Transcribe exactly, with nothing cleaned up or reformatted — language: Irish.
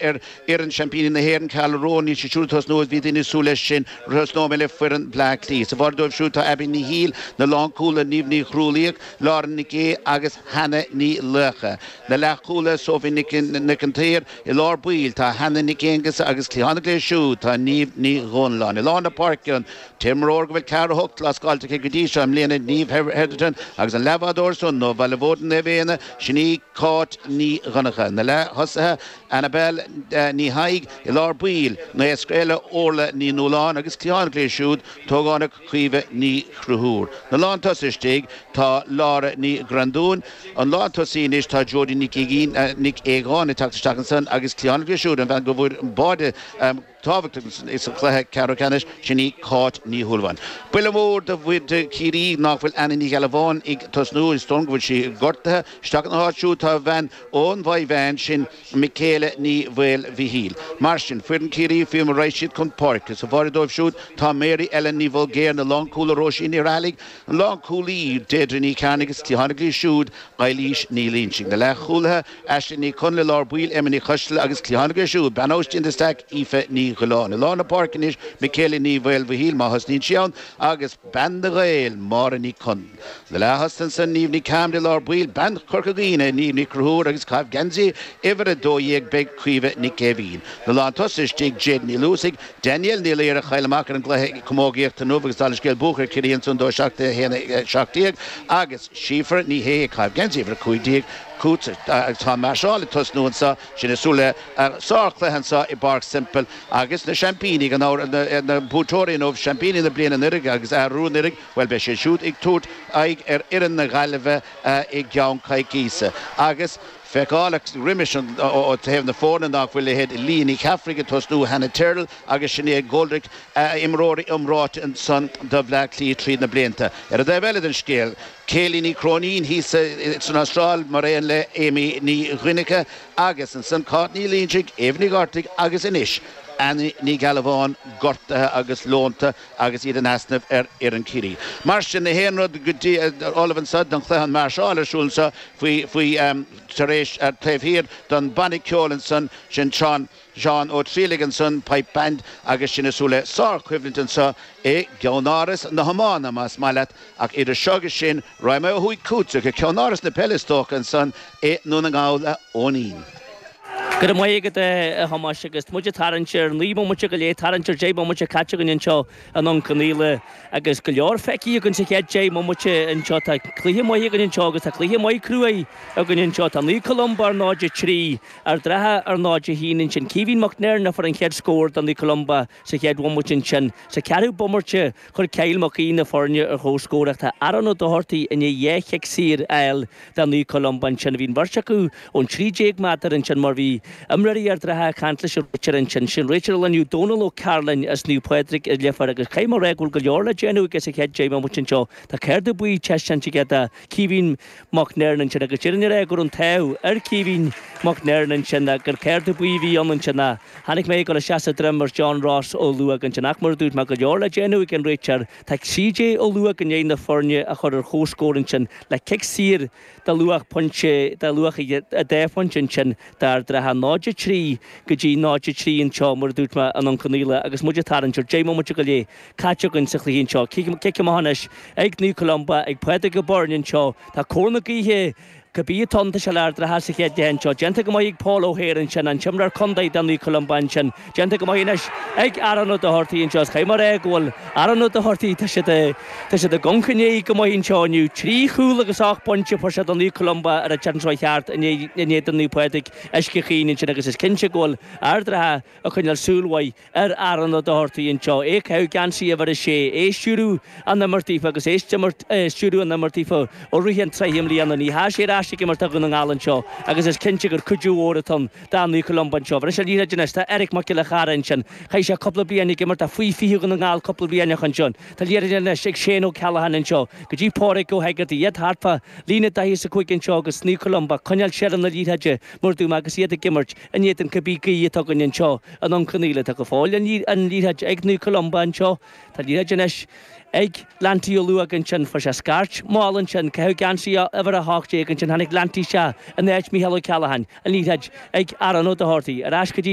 Ar fhoireann seaimpíní na hÉireann, Cathal Rowan, níl siad siúd ag tosnú is bhí daoine ag súil leis sin roimh nóiméad le foireann Bhleá Cliath. Sa bháide dóibh siúd tá Abby Ní Shiail, na lánchúlaithe Niamh Ní Chrualaoich, Lauren Nic Aodha agus Hannah Ní Laochdha. Na leathchúlaithe Sophie Nic an tSaoir, i lár baill tá Hannah Nic Aonghusa agus cliathánach leo siúd tá Niamh Ní Dhomhnalláin. I lár na páirce an t-imreoir go bhfuil ceathair a hocht lascáilte aici go dtí seo i mbliana, Niamh Hetherton agus an leathbhádóir san ó Bhaile Bhóirne Naomh Éanna, sin í Cáit Ní Dhonncha. Na leath-thosaithe Annabelle Ní Thaidhg i lár baill, naoscaire eile Orla Ní Nualláin agus cliathánach léi siúd, an t-ógánach Caoimhe Ní Chonchúir. Na lántosaithe istigh tá Laura Ní Ghrandúin, an lántosaí anois tá Jodie Nic Nic Aogáin ag teacht isteach ansan agus cliathánach léi siúd, an bhean go bhfuair an báide tábhachtach sa chluiche ceathrú ceannais, sin í Cáit Ní Shúilleabháin. Buille mór do mhuintir Chiarraí nach bhfuil Anna Ní Ghealbháin ag tosnú, is dóigh go bhfuil sí gortaithe. Isteach ina háit siúd tá bean ón Mhaigh Mheáin, sin Michaela Ní Mhaolmhichíl. Mar sin, foireann Chiarraí faoi mar a raghaidh siad chun páirce. Sa bháide dóibh siúd tá Mary Ellen Ní Bhulgéir, na lánchúlaithe Róisín Ní Raghallaigh, an lánchúlaí Deirdre Ní Chearnaigh agus cliathánach léi siúd Eilís Ní Loinsigh. Na leathchúlaithe, Aisling Ní Chonaill i lár baill, Emma Ní Choisteala agus cliathánach léi siúd, bean ó Istigh in the Stack, Aoife Ní Ghiolláin. I lár na páirce anois, Michaela Ní Mhaolmhichíl, má thosnaíonn sí ann, agus bean na nGael, Máire Ní Chonaill. Na leath-thosaithe ansan, Niamh Ní Carmody i lár baill, bean Chorca Dhuibhne, Niamh Ní Chonchúir agus ag caitheamh geansaí uimhir a dó dhéag beidh Caoimhe Nic Aoibhín. Na lántosaithe istigh, Jade Ní Luasaigh, Danielle Ní Laoire a chaill amach ar an gcluiche camógaíochta inniu agus dála an scéil buachan ar Chiarraí ansan dó seacht a haon a seacht déag agus Síofra Ní Shé ag caitheamh geansaí uimhir a cúig déag. Agus tá an máirseáil ag tosnú anseo, sinn ag súil le sárchluiche anseo i bPáirc Semple agus na seaimpíní, gan amhras, na buaiteoirí inniu, seaimpíní na bliana anuraidh agus arú anuraidh, bhuel beidh siad siúd ag tabhairt aghaidh ar fhoireann na Gaillimhe i gceann coicíse. Agus feiceálach roimis an ó thaobh na foirne nach bhfuil leithéid Leah Ní Cheallaigh ag tosnú, Hannah Tyrrell agus Sinéad Goldrick, imreoirí iomráite ansan do Bhleá Cliath tríd na blianta. Ar an dtaobh eile den scéal, Kayleigh Ní Chróinín thíos san Astráil mar aon le Amy Ní Dhuinneacha agus ansan Cáit Ní Loinsigh, Éabha Ní Dhortaigh agus anois Annie Ní Ghealbháin gortaithe agus leonta agus iad in easnamh ar fhoireann Chiarraí. Mar sin, na haon rud go dtí ullamh anseo don chluiche an máirseáil ar siúl anseo faoi faoi tar éis taobh thiar don banna ceoil ansan sin Seán Seán Ó Trialaigh ansan, Pipe Band, agus sinn ag súil le sárchoimhlint anseo i gceannáras na hiomána, más maith leat, ach idir seo agus sin, raghaidh mé ó thuaidh chugatsa go ceannáras na peile is dócha ansan i nDún na nGall, a Eoinín. Go raibh maith agat a Thomáis agus muid ag tarraingt ar naoi mbomaite go leith, tarraingt ar deich mbomaite caite againn anseo i nDún Conaola agus go leor feicthe againn sa chéad deich mbomaite anseo. Tá cluiche maith againn anseo agus tá cluiche maith cruaidh againn anseo. Tá Naomh Columba ar náid a trí, Ard an Rátha ar náid a haon ansin. Caoimhín Mac Neirn a fuair an chéad scór do Naomh Columba sa chéad bhomaite ansin. Sa ceathrú bomaite chuir Kyle Mac Aoidh na foirne ar chomhscór ach tá Aaron Ó Dochartaigh i ndiaidh dhá chic saor a fháil do Naomh Columba ansin. Bhí an bheirt acu ón trí déag méadar ansin mar bhí imreoirí Ard an Rátha ag caint leis an réiteoir ansin. Sin réiteoir an lae inniu Dónal Ó Cearláin as Naomh Pádraig i Leifear agus caithfidh mé a rá go bhfuil go leor le déanamh aige sa chéad deich mbomaite anseo. Tá cárta buí taispeáinte aige do Caoimhín Mac Neirn ansin agus déarfainn a rá go raibh an t-ádh ar Caoimhín Mac Neirn ansin gur cárta buí a bhí ann ansin ach chonaic mé ag dul isteach sa droim ar John Ross Ó Luaig ansin ach mar a dúirt mé go leor le déanamh ag an réiteoir. Tá C J Ó Luaig i ndiaidh na foirne a chur ar chomhscór ansin le cic saor de luach pointe de luach a dá phointe ansin d'Ard an Rátha náid a trí go dtí náid a trí anseo mar a dúirt mé i nDún Conaola agus muid ag tarraingt ar deich mbomaite go leith caite againn sa chluiche anseo. Cic amach anois ag Naomh Columba ag Pádraig Ó Beirn anseo. Tá cóir na gaoithe cibé atá ann tá sé le Ard an Rátha sa chéad leath anseo. Déanta go maith ag Paul O'Hare ansin, an t-imreoir contae do Naomh Columba ansin. Déanta go maith anois ag Aaron Ó Dochartaigh anseo. Is caithfidh mé a rá go bhfuil Aaron Ó Dochartaigh, tá siad tá siad ag amharc i ndiaidh go maith anseo inniu. Trí chúl agus ocht bpointe a fuair sé do Naomh Columba ar an tseachtain seo thart in éadan Naomh Pádraig Uisce Chaoin ansin agus is cinnte go bhfuil Ard an Rátha ag coinneáil súil mhaith ar Aaron Ó Dochartaigh anseo, é ag caitheamh geansaí uimhir a sé, é ag stiúradh an imirt daofa agus é ag stiúradh an imirt daofa ó rith an tsraith i mbliana. Ní hea sé ar ais ag imirt do Dhún na nGall anseo agus is cinnte gur cuidiú mhór atá ann do Naomh Columba anseo. Bhris an liathróid anois, tá Eric Mac Giolla Chara ansin. Chaith sé cúpla bliain ag imirt do faoi fiche Dhún na nGall cúpla bliain ó shin ansin. Tá liathróid anois ag Shane O'Callaghan anseo go dtí Pádraig Ó hEigeartaigh, iad thart fá líne daichead is a cúig anseo agus Naomh Columba ag coinneáil seilbh na liathróide mar a dúirt mé agus iad ag imirt in éadan cibé gaoth atá againn anseo i nDún Conaola. Tá go fóill an liathróid ag Naomh Columba anseo. Tá liathróid anois ag Lanty Ó Luaig ansin fuair sé scairt mhall ansin caitheadh geansaí uimhir a hocht déag ansin tháinig Lanty isteach in áit Micheál Ó Ceallacháin an liathróid ag Aaron Ó Dochartaigh ar ais go dtí